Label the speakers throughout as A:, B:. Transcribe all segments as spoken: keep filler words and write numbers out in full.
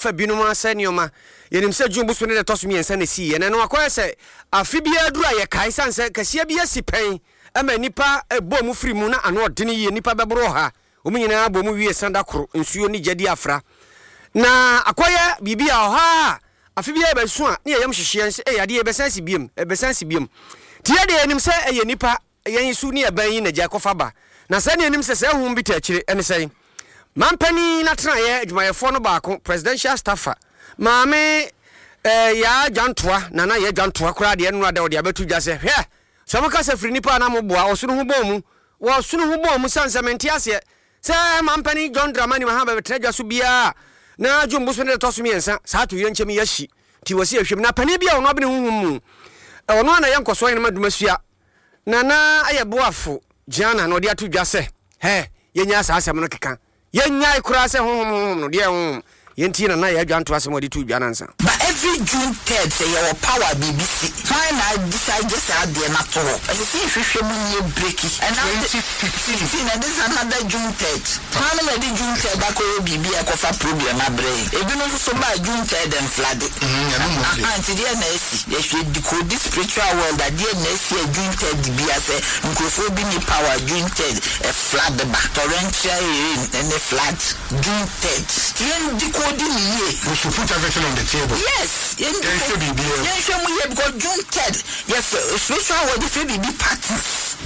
A: Fa binom asɛ nneɛma. Yɛnim sɛ June bosome no da ɛtɔ so mmiɛnsa na ɛsiiɛ, na ɛno akɔyɛ sɛ afe biara duru a yɛkae sane sɛ kɛseɛ bi asi pɛn ma nnipa bɔɔ mu firi mu na ano ɔdene yie, nnipa bɛboro ɔha, wɔn nyinaa bɔ mu wie sa da koro, nsuo ne gya di afra. Na akɔyɛ biribi a ɔha a afe biara yɛbɛso a ne yɛyam hyehye yɛn sɛ ei adeɛ yɛbɛsan asi biom, ɛbɛsan asi biom. Nti yɛ deɛ yɛnim sɛ ɛyɛ nnipa yɛn su ne yɛn yi na gya kɔfa ba. Na sɛ ne yɛnim sɛ saa honhom bi ta akyire ɛne sɛn? Mampanin n'atenaeɛ adwumayɛfoɔ no baako, presidential staffer, Maame eh, Yaa Dwantoa, Nana Yaa Dwantoa koraa deɛ nnora da ɔde abɛto dwa sɛ, hwɛ, sɛ moka sɛ firi nnipa a na moboa, ɔsono ho bɔn mu, wɔsono ho bɔn mu sane sɛ mente aseɛ sɛ mampanin John Dramani Mahama bɛbɛtena dwa so biara na June bosome no da ɛtɔ so mmiɛnsa saa atoyerɛnkyɛm yi ahyi nti wɔsi ahwɛm na panin bi a ɔno abene honhom mu ɔno a na yɛ nkɔsoɔ hene ma Dumasua Nana ayɛ boafo Gianna na ɔde ato dwa sɛ, hɛ, yɛnyaa saa asɛm no keka. Yɛnnyae koraa sɛ honhom honhom no, deɛ honhom. Yɛntie Nana Yaa Dwanto asɛm a ɔde too dwa no ansa.
B: But every June third sɛ yɛwɔ power biribi si, hwan na adecide saa adeɛ no ato hɔ? Ɛsɛ sɛ yɛhwehwɛ mu na yɛ breaki. Ɛna
C: Twenty fifteen.
B: fifteen and this is another June third. Hwan nom na ɛde June third akɔyɛ biribi a ɛkɔfa problem abrɛ yɛn? Ebinom nso so baa June third ɛnflade.
C: Mm, ɛno mmom de.
B: Aha, nti deɛ na asi? Yɛhwɛ decode spiritual world a, deɛ na asi a June third bia sɛ nkurɔfoɔ bi ni power June third ɛ flood ba, torrential rain ɛne flood June third. Nti yɛn decode ne yie.
C: We should put everything on the table.
B: Yes, yɛn
C: Yɛnhwɛ
B: decode
C: biribiara mu.
B: yɛnhwɛ mu yie because June third yɛfrɛ spiritual world yɛfrɛ biribi patterns.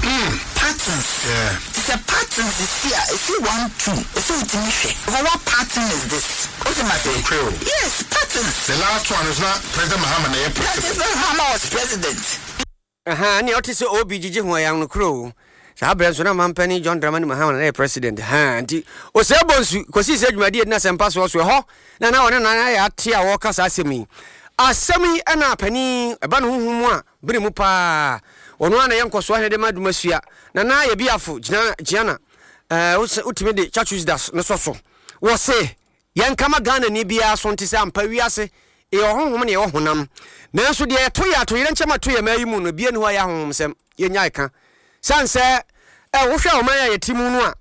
B: Patterns.
C: Yeah.
B: Nti sɛ patterns si a, ɛsi one two, ɛsɛ wotumi hwɛ. Because what pattern is this? Wote ma se?
C: Nokorɛ o.
B: Yes, patterns.
C: The last one is not President Mahama na ɛyɛ president.
B: President Mahama was president.
A: Aha, nea ɔte sɛ obi gyegye ho ɛyɛ nokorɛ o. Saa berɛ nso na mampanin John Dramani Mahama na ɛyɛ president. Ha, nti Osei Bonsu kɔsii sɛ dwumadie di n'asɛmpa soɔ so ɛhɔ na na ɔne Nana ayɛ ate a wɔreka saa asɛm yi. Asɛm yi ɛna panin ɛba ne honhom mu a bere mu paa. Ɔno ara na ɛyɛ nkɔsoɔ ahene de ma Dumasua. Nana ayɛ biafo gyina Giana. Ɛɛ wotumi de Chachusdas no sɔ so. Wɔse yɛnka ma Ghanani biara so nte sɛ ampa wiase yɛwɔ honhom na yɛwɔ honam. Nanso deɛ yɛto yɛ atoyerɛnkyɛm ato yɛn mmaa yi mu no, ebia ni hɔ a ɛyɛ ahonhomsɛm. Yɛnyae ka. Sane sɛ ɛ wohwɛ ɔman a yɛte mu no a,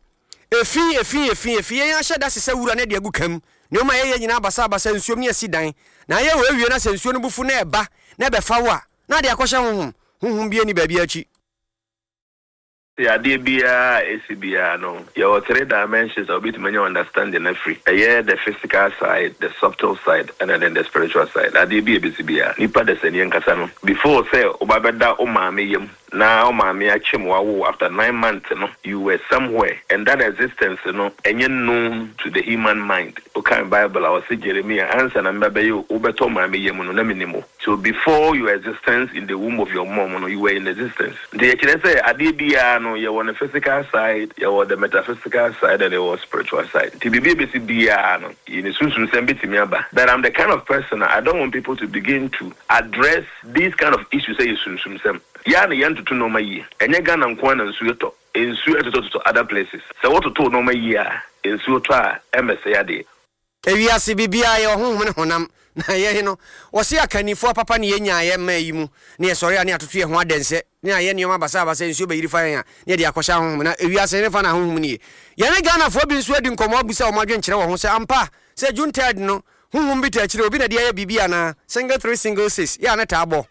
A: efi, efi, efi, efi, yɛn ahyɛ da sesa wura na de agu kam. Nneɛma a yɛyɛ nyinaa basabasa, nsuom ne asi dan. Na ayɛ wɔ awie na sɛ nsuo no bu fu na ɛba na ɛbɛfa wo a, na ade akɔhyɛ honhom. Honhom bi ani baabi akyi.
D: Adeɛ biara a ɛsi biara no, yɛwɔ three dimensions a wobɛtumi anya understanding afiri. Ɛyɛ the physical side, the subtle side, ɛna then the spiritual side. Adeɛ bi a ɛbɛsi biara, nipa dasani ankasa no, before sɛ woba bɛda wo maame yam na wo maame akyem wawo after nine months no, you were somewhere and that existence no ɛnyɛ known to the human mind. Wokan Bible a, ɔse Jeremiah, ansa na meba bɛyɛ wobɛtɔ maame yam no na menim wo. So before your existence in the womb of your mom no, you were in existence. Nti yɛkyerɛ sɛ adeɛ biara no, yɛwɔ ne physical side, yɛwɔ the metaphysical side, and yɛwɔ spiritual side. Nti biribi a ɛbɛsi biara no, yɛne sunsunsɛm bɛtumi aba. But I'm the kind of person a I don't want people to begin to address these kind of issues sɛ yɛ sunsumsɛm. Yɛa na yɛntoto nneɛma yie. Ɛnyɛ Ghana nko ara na nsuo tɔ. Nsuo ɛtotɔtotɔ other places. Sɛ wototo nneɛma yie a, nsuo tɔ a ɛmmɛsɛe adeɛ.
A: Ewiase biribiara yɛwɔ honhom ne honam. Na yɛn no, wɔse akannifoɔ papa ne yɛnyaeɛ mmaa yi mu, na yɛsɔre a ne yɛatoto yɛn ho adɛnsɛ, ne ayɛ nneɛma basabasa, nsuo bɛyiri fa yɛn a, ne yɛde akɔhyɛ ahonhom. Na ewiase ne fa na ahonhom nie. Yɛne Ghanafoɔ bi nso adi nkɔmmɔ abusa wɔn adwenkyerɛ wɔ ho sɛ ampa sɛ June third no, honhom bi ta akyire, obi na de ayɛ biribi anaa? Single three single six, yɛ a ne taa bɔ.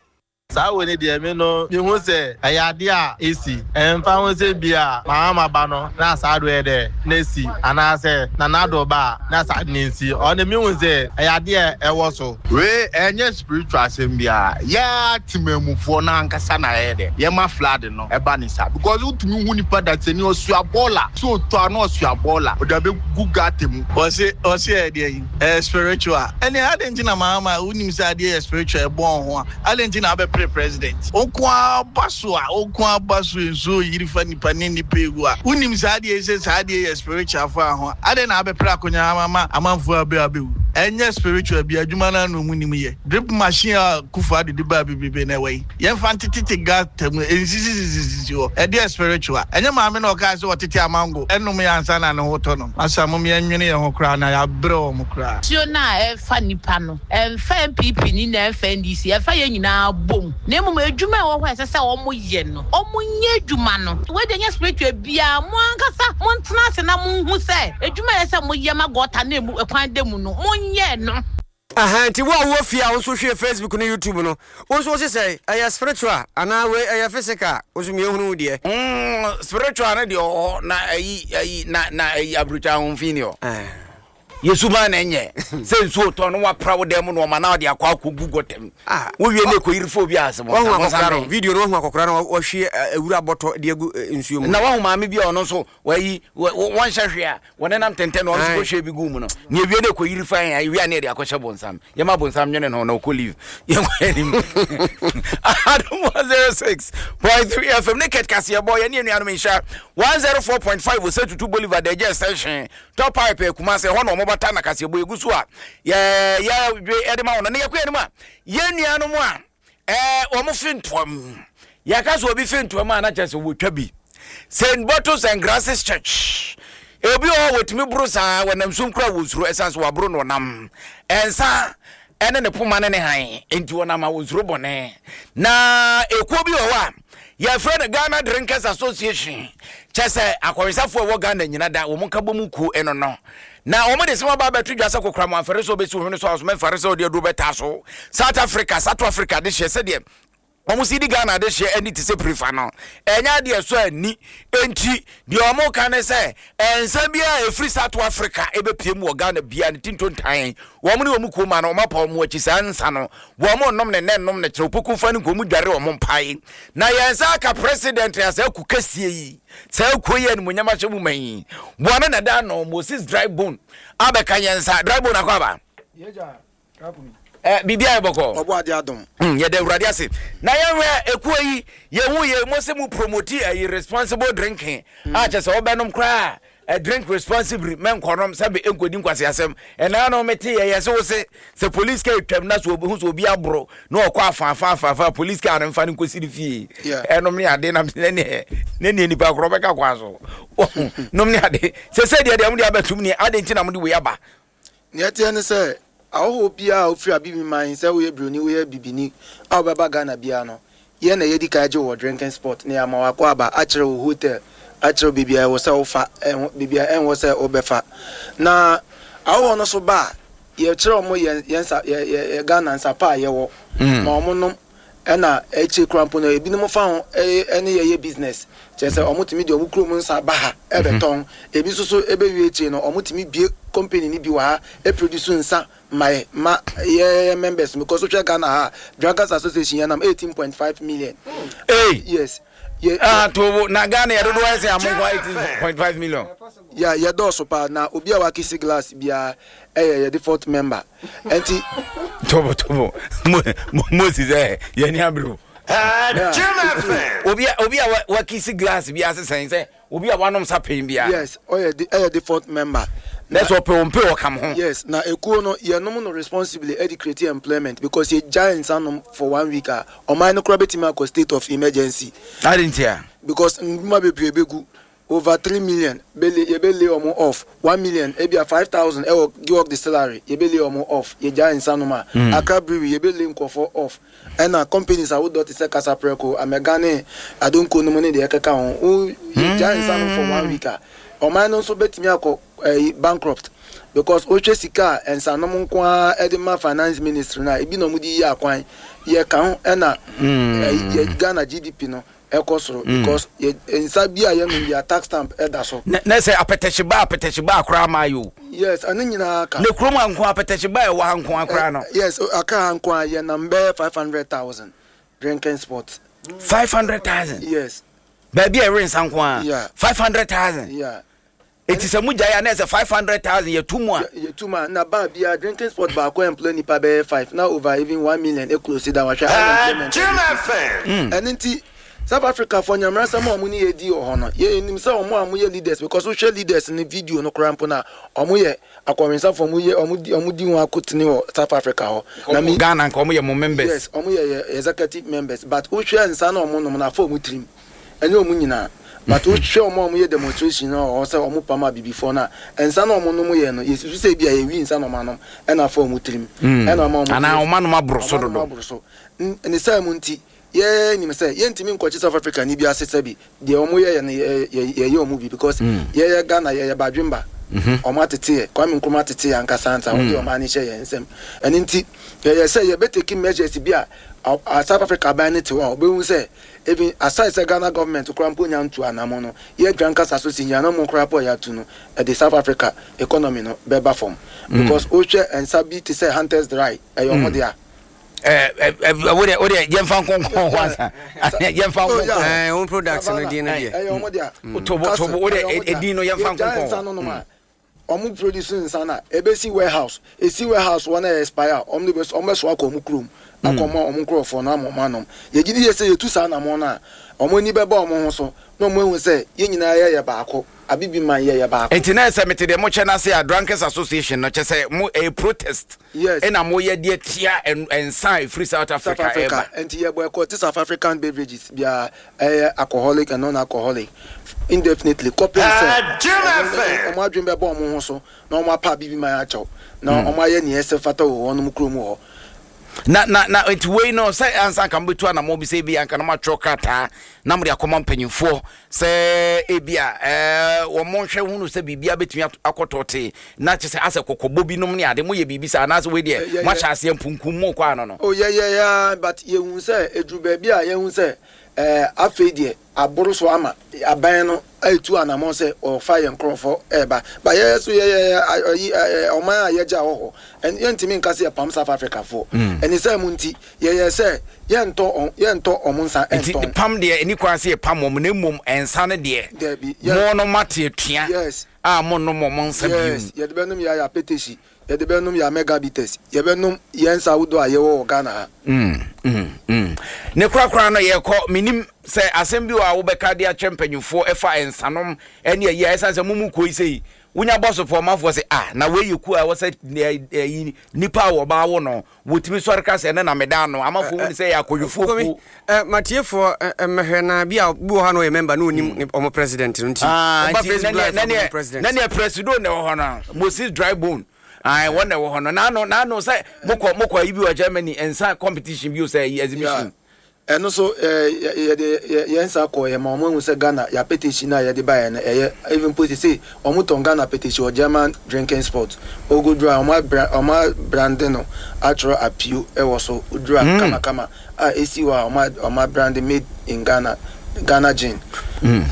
E: Saa wo ne deɛ me no mehu sɛ ɛyɛ adeɛ a ɛsi ɛmfa ho sɛ bi a Mahama ba no na saa do yɛ dɛ na esi anaasɛ Nana Addo ba a na saa de ne nsi ɔno mehu sɛ ɛyɛ adeɛ a ɛwɔ so.
F: Wei ɛnyɛ spiritual asɛm biara, yɛa temamufoɔ no ankasa na ɛyɛ dɛ yɛma flood no ɛba ne saa, because wotumi hu nipa dasani ɔsua bɔɔla sɛ ɔtɔ a na ɔsua bɔɔla ɔde abɛgu gutter mu.
E: Ɔse ɔse ɛyɛ deɛ yi ɛyɛ spiritual ɛne adɛn nti na Mahama wonim sɛ adeɛ yɛ spiritual ɛbɔn ho a adɛn nti na abɛpere president nko aba so a nko aba so nsuo yiri fa nipa ne nipa egu a wonim saa adeɛ sɛ saa adeɛ yɛ spiritual fa ho adɛn na abɛpere akonnwa ama amanfoɔ abɛ abɛwu? Ɛnyɛ spiritual bi adwuma no ano mu nim yɛ drip machine a Kufu adede baa bebrebe na ɛwɔ yi yɛmfa ntetete gutter mu nsisisisisi hɔ ɛdeɛ spiritual ɛnyɛ maame na ɔkaa sɛ ɔtete amango ɛnom yɛ ansa na ne ho tɔ no masa mom yɛnwene yɛn ho koraa na yɛabrɛ wɔn koraa.
G: Nsuo no a ɛfa nipa no, ɛmfa N P P ni na ɛmfa N D C, ɛfa yɛn nyinaa bom. Na mmom adwuma a ɛwɔ hɔ a ɛsɛ sɛ wɔn yɛ no, wɔn nyɛ adwuma no. Wei deɛ nyɛ spiritual biara, mo ankasa mo ntena ase na mo nhu sɛ adwuma a ɛsɛ sɛ mo yɛ ma gutter na emu ɛkwan da mu no, mo nyɛ no.
A: Aha, nti wo a wowɔ fie a wo nso hwɛ Facebook ne YouTube no, wo nso wo se sɛ ɛyɛ spiritual anaa wei ɛyɛ physical, wo nso mmiɛhunu wo deɛ.
H: Mm, spiritual no deɛ ɔwɔ na ayi ayi na na ayi aburukya ahomfi ni hɔ. Yesu maa na ɛnyɛ sɛ nsuo tɔ no wapra wo dan mu na ɔma na ɔde akɔ akɔgu gɔtɛm. Wowie ne ɛkɔyiri fo bi ase.
A: Wahu akɔkora no video no, wahu akɔkora no wahwie awura bɔtɔ de agu nsuo mu.
H: Na wahu maame bi a ɔno nso wayi wɔnhyɛ hwee a wɔnenam tɛntɛn na ɔno nso kɔhwie bi gu mu no. Na ewie ne ɛkɔyiri fa yɛn ewie a ne yɛde akɔhyɛ bonsam. Yɛma bonsam nwene no na ɔkɔ leave. Yɛnkɔ anim. Adom one zero six point three F M ne kɛt kaseɛ bɔ yɛne anuanom nhyira one zero four point five wɔ sɛ tutu Bolivar da agya extension top pipe Kumase hɔ na ɔmo bata na kaseɛ bɔ egu so a yɛ yɛ dwe ɛde ma wɔn na yɛkɔ anim a yɛn nuanom a ɛɛ wɔn fi ntoam yɛka so obi fi ntoam a na kyerɛ sɛ wɔtwa bi Saint Bottles and Grasses Church obi wɔ hɔ wɔtumi boro saa wɔnam sum kura wɔ suro ɛsan so wɔaboro no wɔnam ɛnsa ɛne ne poma ne ne han nti wɔnam a wɔnsuro bɔne na ekuo bi wɔ hɔ a yɛfrɛ no Ghana Drinkers Association kyɛ sɛ akɔwesafoɔ a ɛwɔ Ghana nyina da wɔn nka bɔ mu kuo ɛno no na wɔn de sɛm aba abɛto dwa sɛ kokora mo amfɛre sɛ ɔbɛsi ohwene so a ɔsoma mfɛre sɛ ɔde aduro bɛtaa so South Africa South Africa de hyɛ sɛdeɛ wɔn si di Ghana de hyɛ ani te sɛ prefa no ɛnyɛ adeɛ so ani enti deɛ wɔn ka ne sɛ ɛnsa biara ɛfiri South Africa ɛbɛpie mu wɔ Ghana bia ne tintontan wɔn ne wɔn kuo ma no wɔn apa wɔn akyi saa nsa no wɔn nom ne nɛ nom ne kyerɛ opoku fa ne nkomu dware wɔn mpae na yɛn nsa aka president a saa ku kɛseɛ yi saa kuo yi animuonyam ahyɛ mu ma yi wɔn na da no Moses dry bone abɛka yɛn nsa dry bone akɔ aba eh bibia yɛ bɔkɔ
I: ɔbɔ ade adom
H: yɛda Awurade ase na yɛhwɛ ekuo yi yɛhu yɛ mo sɛ mo promote ayi responsible drinking a kyɛ sɛ wobɛnom koraa a drink responsibly mɛnkɔnom sɛ be nkɔdi nkwasi asɛm ɛnaa no mete yɛ yɛ sɛ wo se sɛ police car twam na so obi hu sɛ obi aboro na ɔkɔ afa afa afa afa police car no mfa no nkɔsi ne fie ɛnom ne ade nam ne ne ne ne nipa korɔ bɛka kwa so nom ne ade sɛ sɛ deɛ deɛ mo de abɛtum ne ade nti na mo de wei aba.
I: Ne ɛteɛ ne sɛ ahoho bia a ofiri abibi man sɛ woyɛ broni woyɛ bibini a wobɛba Ghana bia no yɛ na yɛdi kan gye wɔ drinking spot ne ama wakɔ aba akyerɛ wo hotel akyerɛ bibia ɛwɔ sɛ wofa bibia ɛnwɔ sɛ wobɛfa na ahoho no so ba yɛkyerɛ ɔmo yɛn yɛn Ghana nsapa a yɛwɔ ma ɔmo nom ɛna ɛkyɛ kura mpo no ebinom fa ho ɛne yɛyɛ business kyerɛ sɛ ɔmo tumi de ɔmo kurom nsa ba ha ɛbɛtɔn ebi nso so ɛbɛwie akyire no ɔmo tumi bie company ni bi wɔ ha ɛproduce nsa my ma yeah members because wohwɛ Ghana ha Drinkers Association yɛnam eighteen point five million.
H: Hey
I: yes yeah,
H: ah to na Ghana yɛ dodoɔ ɛsɛ amonko eighteen point five million.
I: Yeah yɛ dɔɔso paa na obi a wakisi glass bia ɛyɛ yɛ default member enti
H: tobo tobo Moses eh yɛ ni abro obi obi a wakisi glass bia sesɛn sɛ obi a wanom sa pain bia.
I: Yes ɔyɛ ɛyɛ default member.
H: That's what pe pe o kam ho.
I: Yes na ekuo no ye nom no responsibly e create employment because ye giants anom for one week a o man no kra betimi akɔ state of emergency.
H: I didn't hear.
I: Because nduma bebre begu over three million bele ye be lay omo off one million e bia five thousand e wo work the salary ye be lay omo off ye giants anom a Accra Brewery ye be lay nkofo off and na companies a wo dot se Kasa Preko Amegane Adonko no money de ekeka ho wo ye giants anom for one week a o man no so betimi akɔ bankrupt because wohwɛ sika ensanom nko a edema finance ministry na ebi na omudi yi akwan ye ka ho e na Ghana G D P no ekɔ soro because nsa bi a ye no bi a tax stamp e da so
H: na say apetehye apetehye ba akora ma yo.
I: Yes ani nyina aka
H: ne krom anko apetehye ba e wa anko akora no.
I: Yes aka anko a ye number five hundred thousand drinking spots
H: five hundred thousand.
I: Yes
H: ba bi e re nsa nko a five hundred thousand.
I: Yeah.
H: It is a mujaya na five hundred thousand ye two more.
I: Ye two more. Na ba bia drinking spot ba ko employ nipa be five now over even one million e close down wa hwe unemployment. And nti South Africa for nyamra sam omo ni ye di oho no. Ye nim say omo amu ye leaders because we share leaders in video no krampo na omo ye akwarensa for omo ye omo di omo di won akotene wo South Africa ho.
H: Na mi Ghana nka omo ye mo members.
I: Yes, omo ye executive members but we share nsa na omo no na fa omo trim. Enye omo nyina. But we show omo ye demonstration or say omo pama bi before na ensa na omo no mo ye no yesu say bia ye wi nsa na omo anom e na fa omo trim e na omo
H: ana omo anom abroso dodo
I: ne say mu nti ye nim say ye ntimi nkochi South Africa ni bi asese bi de omo ye ne ye ye omo bi because ye ye Ghana ye ye badwemba Ɔmo atete yɛ, Kwame Nkrumah atete yɛ ankasa nsa wɔde ɔmo ani hyɛ yɛn nsam. Ɛno nti yɛyɛ sɛ yɛbɛtake measures bi a a South Africa aban ne te hɔ a ɔbɛhu sɛ even aside sɛ Ghana government koraa mpo nya ntu anamo no, yɛ Drunkers Association anamo koraa po a yɛatu no, ɛde South Africa economy no bɛba fam, because wohwɛ nsa bi te sɛ Hunters Dry, ɛyɛ ɔmo dea.
H: Wode wode yɛmfa nkɔnkɔn hɔ ansa, yɛmfa
I: Oh, yeah.
H: nkɔnkɔn.
A: Eh, own products no din no deɛ.
I: Ɛyɛ ɔmo dea.
H: Tobo tobo wode edin no yɛmfa
I: yɛgya nsa
H: nkɔnkɔn.
I: no nom a ɔmo produce nsa no a ebesi warehouse, esi warehouse wɔn a expire a, ɔmo de bɛ ɔmo bɛso akɔ ɔmo kurom akɔ ɔmo ɔmo nkurɔfoɔ no ama ɔmo anom. Yɛgye di yɛ sɛ yɛtu saa anamɔ no a, ɔmo ani bɛba ɔmo ho so na ɔmo ehu sɛ yɛn nyinaa yɛyɛ baako, abibi man yɛyɛ baako.
H: Nti na sɛ mete deɛ mokyɛ no ase a, Drunkers Association no kyɛ sɛ mo ɛyɛ protest
I: Yes.
H: ɛna moyɛ deɛ tia ɛn- ɛnsa a ɛfiri South
I: South
H: Africa
I: Africa.
H: Ɛba.
I: Nti yɛ boycott South African beverages bia, ɛyɛ alcoholic and non-alcoholic, indefinitely kɔpem sɛ ɔmo ɔmo adwene bɛbɔ ɔmo ho so na ɔmo apa abibi man akyɛw na ɔmo ayɛ nea ɛsɛ fata wɔ wɔn kurom hɔ.
H: Na na na nti wei no sɛ ansa nka mobɛtu anammɔ bi sɛ ebi anka na moatwerɛ krataa na mode akɔma mpanyimfoɔ sɛ ebi a ɛɛ wɔn nhwɛ hunu sɛ biribia bɛtumi ato- akɔtɔ tee na kyɛ sɛ asɛ kɔkɔbɔ binom ne ade moyɛ biribi saa anaasɛ wei deɛ
I: Ɛ, yɛ- yɛ-
H: moahyɛ aseɛ mpunkum mu kɔ ano no?
I: O, yɛ yɛ ya, but yɛhu sɛ eduru baabi a yɛhu sɛ ɛɛ afei deɛ aboro so ama aban no etu anamɔ sɛ ɔfa yɛn nkorɔfoɔ ɛɛba ba. Yɛ so yɛ yɛ ɛyi ɛɛ ɔman a yɛgya wɔ hɔ ɛn yɛntumi nka sɛ yɛpam South Africa foɔ. Ɛni sɛ mu nti yɛyɛ sɛ yɛntɔ ɔn yɛntɔ ɔmo nsa
H: nti
I: ɛntɔn.
H: Pam deɛ ɛni kwan sɛ yɛpam wɔn, na mmom ɛnsa no deɛ
I: Dɛbi.
H: mo no mate atua
I: Yes.
H: a monnom ɔmo nsa
I: Yes.
H: bio.
I: Yɛde bɛnom yɛ ayɛ apetesi, yɛde bɛnom yɛ Mega Bitters, yɛbɛnom yɛn nsa ahodoɔ a yɛwɔ wɔ Ghana ha.
H: Mm, mm, mm. ne korakora no yɛkɔ, menim sɛ asɛm bi wɔ a wobɛka de akyerɛ mpanyimfoɔ ɛfa nsanom ɛne ayi a ɛsiane sɛ momu koi sɛ wonya bɔ so pɔmafoɔ sɛ ah, na wei yɛ ku a ɛwɔ sɛ ɛ, ɛyi nipa a wɔbaa wo no wɔtumi sɔre ka sɛ ɛne na meda no amafoɔ hu ne sɛ yɛ akɔdwofoɔ
A: Komi,
H: kuo.
A: eh, matiefoɔ eh, eh, mmɛhwɛ na bi a bi wɔ ha na ɔyɛ member na onim ne- ɔmo president no nti
H: Ah,
A: ɔba
H: nti
A: Facebook Live
H: na
A: ɔmo
H: neɛ
A: president.
H: na neɛ presido na ɛwɔ hɔ no, Moses Drybone. Ayi, wɔn na ɛwɔ hɔ no n'ano n'ano sɛ mokɔ mokɔ ayi bi wɔ Germany, nsa competition bi o, sɛ ɛyi exhibition.
I: Ɛno so ɛɛ yɛ- yɛde yɛ- yɛn nsa kɔ yɛ ma ɔmo ehu sɛ Ghana yɛ apetesi na yɛde ba yɛ no ɛyɛ even po sese ɔmo tɔn Ghana apetesi wɔ German drinking spot. Ogoduru a ɔmo abra ɔmo abrande no atwerɛ apio ɛwɔ so. Oduru a kamakama a esi hɔ a ɔmo a- ɔmo abrande "Made in Ghana, Ghana Gin".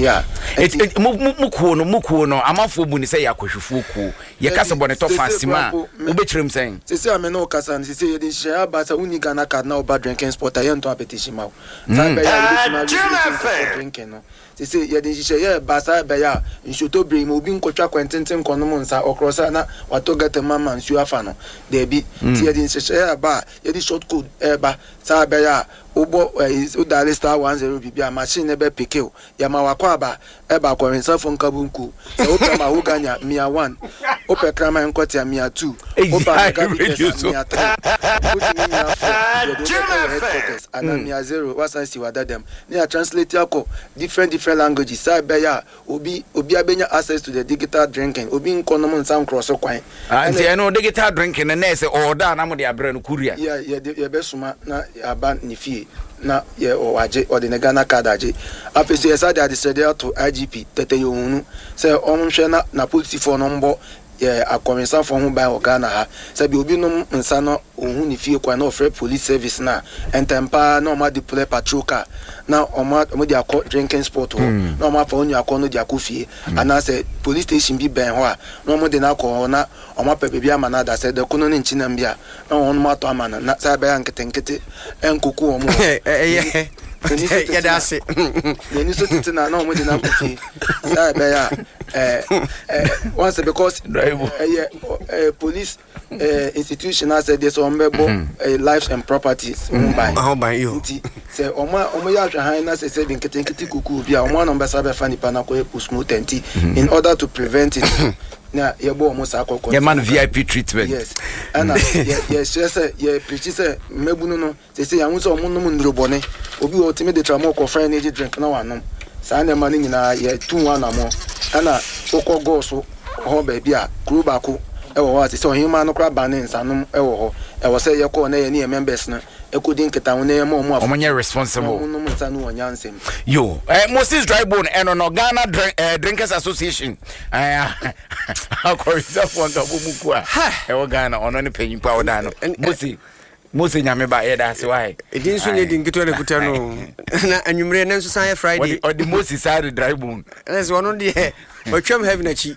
I: Yeah.
H: Et- et- mo mo mo kuo no mo kuo no amanfoɔ bu ne sɛ yɛ akɔhwifoɔ kuo, yɛka sɛ bɔne tɔ fa
I: Sese
H: asima a
I: kura mpo, me-
H: wobɛkyerɛ m sɛn?
I: Sese a me ne wo kasa no, sese yɛde nhyehyɛeɛ aba sɛ wonni Ghana card na woba drinking spot a, yɛntɔn apetesi ma wo. Saa bɛyɛ a yɛbɛtumi areduce nkurɔfoɔ drinking no. Sese yɛde nhyehyɛeɛ ba saa bɛyɛ a nsuotɔ bere mu obi nkɔtwa kwantenten nkɔnom nsa ɔkorɔ sa na watɔ gutter mu ama nsuo afa no daabi. Nti yɛde nhyehyɛeɛ aba a yɛde short code ɛɛba saa bɛyɛ a wobɔ ɛyi wodial star one zero biribi a, machine no bɛ pick o. Yɛma wakɔ aba ɛba akɔrensafo nkabunku sɛ wopɛ mahogany a, mia one, wopɛ kraman nkɔte a, mia two, wopɛ
H: Eyi,
I: Mega
H: radio
I: Bitters a,
H: so.
I: mia three, wotumi mia four, yɛde wobɛkɔ wɔ headquarters anaa mia zero wasan si wadadam ne yɛ translate akɔ different different languages saa ɛbɛyɛ a obi obi abɛnya access to the digital drinking, obi nkɔnom nsa nkorɔ so kwan.
H: Ah, nti ɛno digital drinking no na ɛsɛ ɔɔda a na mode abrɛ no courier?
I: Yɛ yɛde yɛbɛsoma na aba ne fie na yɛ ɔwagye, ɔde ne Ghana card agye. Afei so yɛsa de adesrɛdeɛ ato I G P Tɛtɛ Yɛhunu sɛ ɔnhwɛ na na polisifoɔ no mbɔ yɛ akɔnwensafoɔ ho ban wɔ Ghana ha, sɛbi obi nom nsa no ohun ne fie kwan na ɔfrɛ police service na ntɛm paa na ɔmo adeploy patrol car na ɔmo ɔmo de akɔ drinking spot hɔ na ɔmo afa onua akɔ no de akɔ fie, anaasɛ police station bi bɛn hɔ a na ɔmo de no akɔ hɔ na ɔmo apɛ baabi ama no ada sɛ dɛko no ne nkyinam bi a na wɔn mo atɔ ama no na saa bɛyɛ nketenkete ɛnkoku wɔn hɔ.
A: Ɛyɛ
I: N'ani so tete
A: yɛda
I: na-
A: ase.
I: N'ani so tete na na ɔmo de no akɔ fie saa ɛbɛyɛ a ɛɛ ɛɛ once because ɛyɛ ɛɛ police ɛɛ institution asɛ deɛ sɛ ɔmo bɛ bɔ ɛɛ lives and properties ho ban.
A: Ho ban, yo.
I: Nti sɛ ɔmo a ɔmo yɛ ahwɛhan na sɛ sɛ bi nketenkete kuku bi a, ɔmo anam bɛsa bɛfa nipa na akɔyɛ postmortem. Nti in order to prevent it na yɛbɔ ɔmo saa kɔkɔ.
H: Yɛma no V I P treatment.
I: Yes, ɛna yɛ yɛhyɛ sɛ yɛ pirikyi sɛ mmabunu no sɛ yɛn sɛ ɔmo nom nnurobɔne, obi wɔ otimi de tramɔ kɔfra energy drink na wanom. Saa nneɛma no nyinaa yɛtu ho anammɔ. Ɛna wokɔ gɔɔ so hɔ baabi a kuro baako ɛwɔ hɔ a sɛ sɛ ɔhema no koraa ba ne nsanom ɛwɔ hɔ, ɛwɔ sɛ yɛkɔɔ na yɛne yɛ members no Ɛkɔdi nkitaho na yɛma ɔmo.
H: Ɔmo nyɛ responsible.
I: Ɔmo nom nsa no wɔ nyansɛm.
H: Yo, eh, Moses Drybone ɛno no, Ghana Drink, eh, Drinkers Association, eh, akɔrisafoɔ nka bɔ mu ku a ɛwɔ Ghana, ɔno ne panyin pa ɔda no. Mose, Mose, Nyame ba, yɛda ase wae.
A: Ɛdi nso nyɛ di nketewa na kuta no na anwummerɛ ne nso san yɛ Friday.
H: Ɔde ɔde Moses saa de Drybone.
A: Ɛnɛ sɛ ɔno deɛ ɔtwam heaven akyi,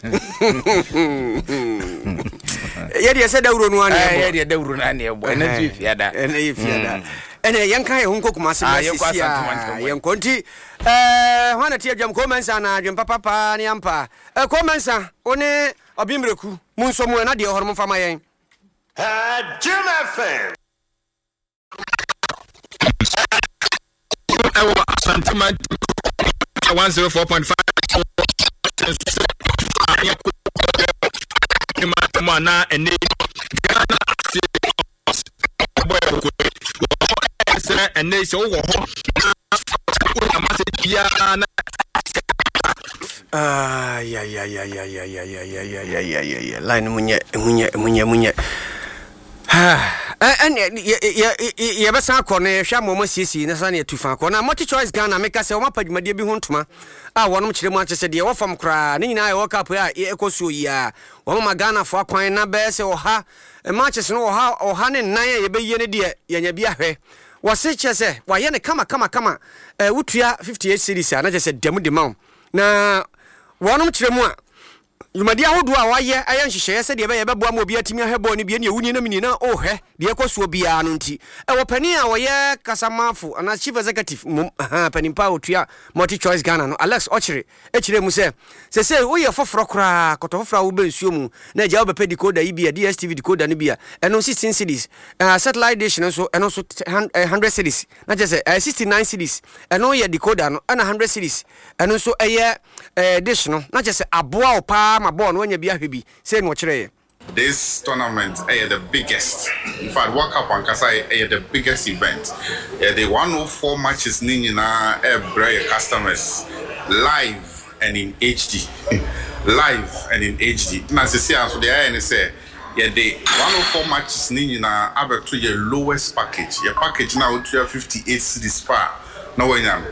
A: yɛdeɛ sɛ dawuro no ane.
H: Eh, yɛdeɛ dawuro no ane ɛbɔ. Ɛnɛ nso yɛ fiada.
A: Ɛnɛ yɛ fiada. Ɛnɛ yɛnka yɛ ho nkɔ Kumase.
H: Ah,
A: ma
H: yɛnkɔ
A: sisi
H: Asante
A: a
H: Mantam.
A: Yɛnkɔ nti ɛɛ hwan na te adwam? Kɔmɛnsa na adwempa papa ne ampa. Ɛ Kɔmɛnsa, wo ne ɔbimreku mu nso mu ɛna deɛ ɛhɔ no momfa ma yɛn.
J: Jim F M.
K: Ɛwɔ Asante Mantam one zero four point five mu a na ɛnɛ Ghana ase bɔ yɛ kokoe wɔn sɛ ɛnɛ sɛ wowɔ hɔ na wonya masɛ biara na
A: Ayayayayayayayayayayayaya, line mu nyɛ, mu nyɛ, mu nyɛ, mu nyɛ. Ɛne yɛbɛsan akɔ no, yɛhwɛ ama ɔma siesie na sane yɛtu fa akɔ na Multi Choice Ghana. Meka sɛ ɔmapa dwumadeɛ bi ho ntoma a wɔnom kyerɛ mu akyɛ sɛ deɛ ɛwɔ fam koraa ne nyinaa ɛwɔ cup a ɛkɔ soɔ yi a wɔmama Ghanafoɔ akwan na bɛyɛ sɛ ɔha matches no, ɔha ɔha ne nnan a yɛbɛyie no deɛ, yɛnya bi ahwɛ. Wɔse kyerɛ sɛ wayɛ no kama kama kama. eh, wotua fifty-eight cedis a na kyerɛ sɛ dɛm de ma wo na wɔnom kyerɛ mu a dwumadi ahodoɔ a wɔayɛ ayɛ nhyehyɛeɛ sɛdeɛ ɛbɛyɛ ɛbɛboa ma obi atumi ahwɛ bɔɔl no bi, ɛne ɛwunie na menie na ɔrehwɛ deɛ ɛkɔ soɔ biara no. Nti ɛwɔ panin a wɔyɛ kasamafo anaa chief executive mmom, aha, panin pa a ɔtua Multi Choice Ghana no, Alex Ɔkyere, ɛkyerɛ mu sɛ sɛsei woyɛ foforɔ koraa, kɔtɔ foforɔ a wobɛ nsuo mu na agya wobɛpɛ decoder yi bi a, D S T V decoder no bi a, ɛno sixteen cedis, uh, satellite dish no nso, ɛno nso one hundred cedis, na kyerɛ sɛ uh, sixty-nine cedis ɛno yɛ decoder no, ɛna one hundred cedis ɛno nso ɛyɛ uh, dish no, na kyerɛ sɛ aboa wo paa ma bɔɔl no wanya bi ahwɛ bi. Sei na ɔkyerɛeɛ.
L: This tournament ɛyɛ the biggest. In fact, World Cup ankasa ɛyɛ the biggest event. Yɛde one oh four matches ne nyinaa ɛbrɛ yɛ customers live and in H D. Live and in H D. Na sisi a nso deɛ ɛyɛ ne sɛ yɛde one oh four matches ne nyinaa abɛto yɛ lowest package. Yɛ package na wotua fifty-eight cedis pa na wanya no,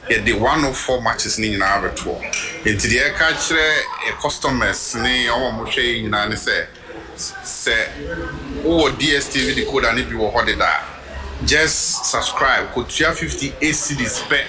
L: yɛde one oh four matches ne nyinaa abɛtoɔ. Nti deɛ ɛka kyerɛ yɛ customers ne wɔn a wɔhwɛ yɛ nyinaa ne sɛ, sɛ wowɔ D S T V decoder ne bi wɔ hɔ deda a, just subscribe, kɔtua fifty-eight cedis pɛ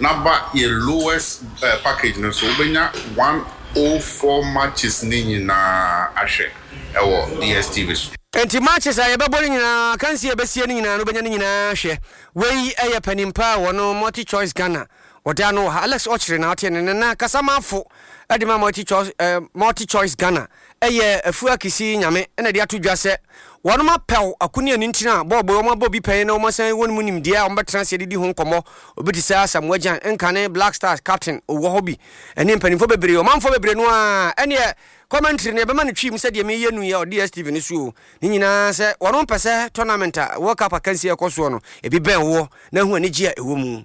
L: na ba yɛ lowest uh, package no so, wobɛnya one oh four matches ne nyinaa ahwɛ ɛwɔ D S T V so.
A: Nti matches a yɛbɛbɔ no nyinaa, kansi a yɛbɛsie no nyinaa no, wobɛnya no nyinaa hwɛ. Wei ɛyɛ panimpa a wɔno Multi Choice Ghana wɔde ano wɔ ha, Alex Ɔkyere, na ɔte ne nana kasamafo ɛde ma Multi Choice, eh, Multi Choice Ghana, ɛyɛ Afua Kisi Nyame, ɛna de ato dwa sɛ wɔnom apɛw akoni ani ntina a bɔɔbɔ wɔn abɔ bi pɛn na wɔn asan wɔn mu nimdeɛ a wɔbɛtena ase adidi ho nkɔmmɔ. Obi te sɛ Asamoah Gyan nkane Black Stars captain owɔ hɔ bi, ɛne mpanimfoɔ bebree, ɔmanfoɔ bebree no a ɛneɛ commentary no yɛbɛma no twi mu sɛdeɛ meyɛ nu yɛ D S T V no so o. Ne nyinaa sɛ wɔnom pɛ sɛ tournament a World Cup akansi a ɛkɔ soɔ no ebi bɛn woɔ na ahu anigye a ɛwɔ mu.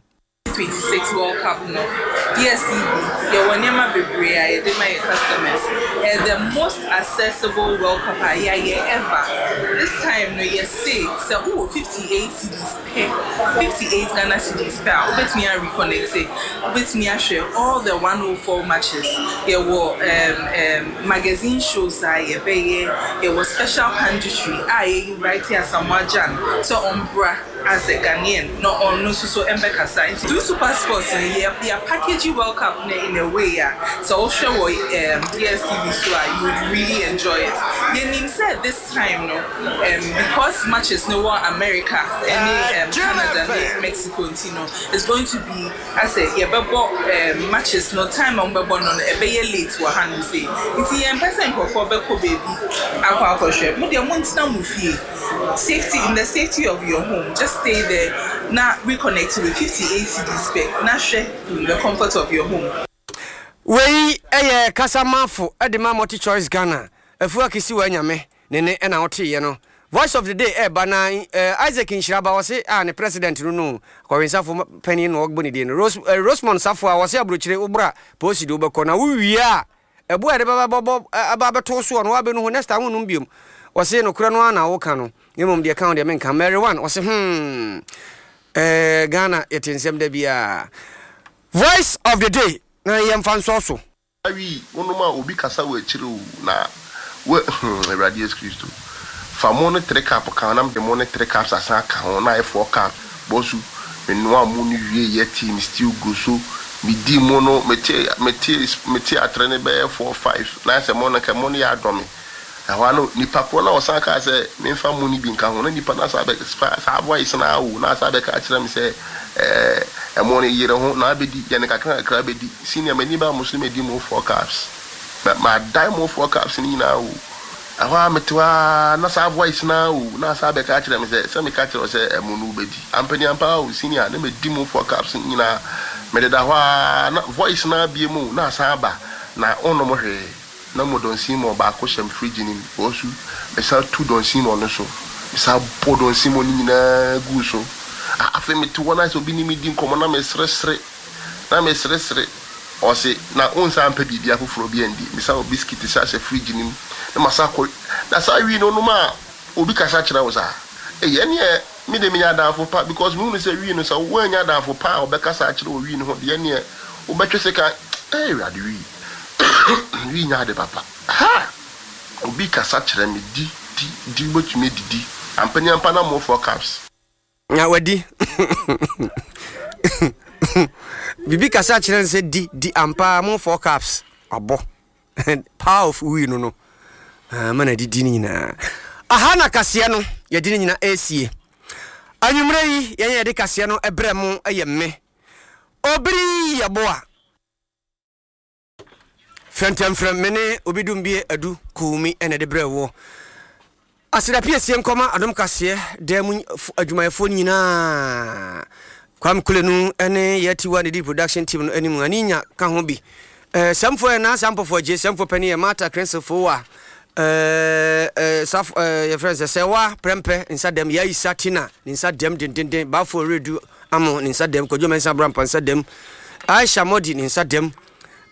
M: twenty-six World Cup no, D S T V yɛwɔ nneɛma bebree a yɛde ma yɛ customers. Ɛyɛ the most accessible World Cup a yɛayɛ ever. This time no, yɛse sɛ wowɔ fifty-eight cedis pɛ, fifty-eight Ghana cedis pɛ a, wobɛtumi a reconnect, wobɛtumi ahwɛ all the one oh four matches. Yɛwɔ um, um, magazine shows a yɛbɛyɛ, yɛwɔ special punditry a yɛ invite Asamoah Gyan sɛ ɔmbra as a Ghanaian na ɔno nso so mbɛkasa. Nti through Super Sports no, yɛ yɛ package World Cup no in a way a sɛ wohwɛ wɔ um, D S T V so a, you would really enjoy it. Yɛnim sɛ this time no, um, because matches no wɔ America ɛne um, Canada ne Mexico nti no, it's going to be asɛ yɛbɛbɔ um, matches no, time a wɔbɛbɔ no no ɛbɛyɛ late wɔ ha no sei, nti yɛmpɛ sɛ nkurɔfoɔ bɛkɔ baabi akɔ akɔhwɛ. Mo deɛ, montena mo fie, safety in the safety of your home, just stay there na reconnect with fifty-eight cedis pɛ na hwɛ in the comfort of your home.
A: Wei ɛyɛ kasamafo ɛde ma Multi Choice Ghana, Afua Kisi wɔ Anyame ne ne ɛna woteeɛ no. Voice of the Day ɛɛba na eh, Isaac Nhyiraba wɔse a ne president no no kɔwensafo panin na ɔgbɔ ne din no Rose, eh, Rosemond Safo a wɔse aburokyire wobra polisi de wobɛkɔ na wowie a ɛbo a yɛde bɛba bɛbɔ aba abɛto soɔ no wabɛnu ho next time wonnom biom. Ɔse nokorɛ no ara na woka no, na mmom deɛ ɛka ho deɛ menka. Mary One ɔse hmm eh, Ghana yɛte nsɛm da biara. Voice of the day na yɛmfa nsɔ so.
N: Awi wonom a obi kasa wɔ akyire o na wo hmm Awurade Yesu Kristo fa mo ne three cup ka ho na mede mo ne three cups asan aka ho na ayɛ four cup bɔsu me noa mo no wie yɛ tee me stew gu so me di mo no me te me te me te atere no bɛyɛ four five na ayɛ sɛ mo no nka mo no yɛ adɔ me Ɛhɔ ara no, nipa korɔ no a ɔsan kaa sɛ memfa mo no bi nka ho no, nipa no asan abɛfa saa voice no ara o, na asan abɛka akyerɛ me sɛ, ɛɛ, ɛmo no, yere ho na abɛdi, yɛ no kakra kakra bɛdi. Senior, m'ani baa mo so no madi mo four cups. Ma, madan mo four cups no nyinaa o. Ɛhɔ ara mete hɔ ara na saa voice no ara o, na asan abɛka akyerɛ me sɛ, sɛ meka kyerɛ wo sɛ ɛmo no wobɛdi. Ampaniampa ara o, senior, na madi mo four cups no nyinaa. Mededa hɔ ara na voice no ara biem o, na asan aba, na wonnom hwee. Na mo Don Simon baako hyɛ me fridge no mu, wɔsu, mesan tu Don Simon no so, mesan bɔ Don Simon no nyinaa guu so. Ah, afei mete hɔ na sɛ obi ne me di nkɔmmɔ na meseresere, na meseresere. Ɔse, na wonsan mpɛ biribi afoforɔ bi andi? Mesan wɔ biscuit san hyɛ fridge no mu, na masan akɔ, na saa wii no wonom a obi kasa kyerɛ wo saa? Ei, ɛneɛ me deɛ menya adamfo pa because mehunu sɛ wii no sɛ woannya adamfo pa a ɔbɛkasa akyerɛ wo wii no ho deɛ ɛneɛ wobɛtwe sekan, ei Awurade wii. Wii nyɛ ade papa. Ha! Obi kasa kyerɛ me di di di wobɛtumi adidi ampa ni ampa na mo four cups.
A: Na wadi. Bibi kasa kyerɛ no sɛ di di ampa mo four cups wabɔ. Power of wii no no. Ah, ma na didi no nyinaa. Aha na kaseɛ no yɛde no nyinaa ɛresie. Anwummerɛ yi yɛn yɛde kaseɛ no ɛbrɛ mo ɛyɛ me. Obiri yɛboa. Frɛntɛmfrɛm, me ne Obi Dumbie Adu Kuumi na ɛde brɛ woɔ. Aseda piesie nkɔma Adom Kaseɛ dan mu adwumayɛfoɔ no nyinaa. Kwame Kulenu ne Yɛtiwa ne di production team no anim. Ani nya ka ho bi. Eh, Sɛmfoɔ yɛ Nansa Mpɔfoɔ Agye, Sɛmfoɔ panin yɛ Martha Crensel Fowa. Eh, eh, saf, eh, yɛfrɛ no sɛ Sɛwa Prɛmpɛ nsa dɛm, Yaisa Tina ne nsa dɛm dendenden, Bafo Redu Amo ne nsa dɛm, Kwadwo Mensah Abrampa nsa dɛm, Aisha Modi ne nsa dɛm.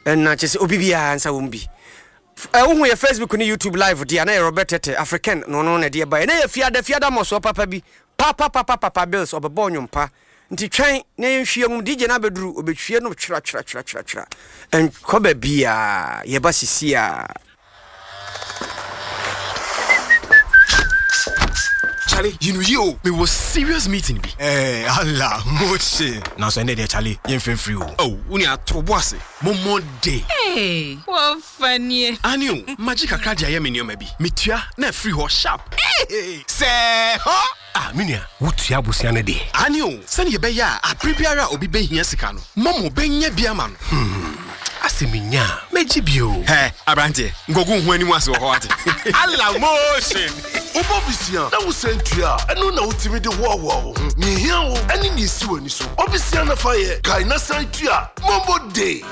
A: Ɛna kyerɛ sɛ obi biara nsa wɔ mu bi. Ɛ wohu yɛ Facebook ne YouTube live deɛ a na yɛ Robert Tete African na ɔno na ɛde ɛbaeɛ. Na yɛ fiada fiada mmɔsoɔ papa bi papa papa papa Bills ɔbɛbɔ nnwom pa nti twɛn na yɛnhwie nwom D J no abɛduru ɔbɛhwie no twera twera twera twera twera ɛnkɔ baabiara yɛba sisi a.
O: Charlie, you know you, me was serious meeting bi.
K: Eh, Allah, moche. Nanso ɛnɛ deɛ Charlie, yɛmfrɛ mfiri o.
O: Oh, wo nua to bo ase. Mommɔ de.
M: Hey, wɔfa nie.
O: Ani o, magye kakra de ayɛ me nneɛma bi. Metua na afiri hɔ sharp. Hey, sɛ hɔ.
K: Ah, me nua, wotua abusua no deɛ.
O: Ani o, sɛnea ɛbɛyɛ a abere biara a obi bɛhia sika no, Momo bɛnya bi ama no.
K: Hmm. Asɛ menya a, mɛgye bio.
O: Hɛ, aberanteɛ, nkɔgu ho anim ase wɔ hɔ ate.
J: Allah motion.
P: Wobɔ bisia na wosan tua a, ɛno na wotumi de hoahoa wo ho. Nea ehia wo ne nea esi w'ani so. Ɔbisia na fa yɛ, kae na san tua. Momo Day.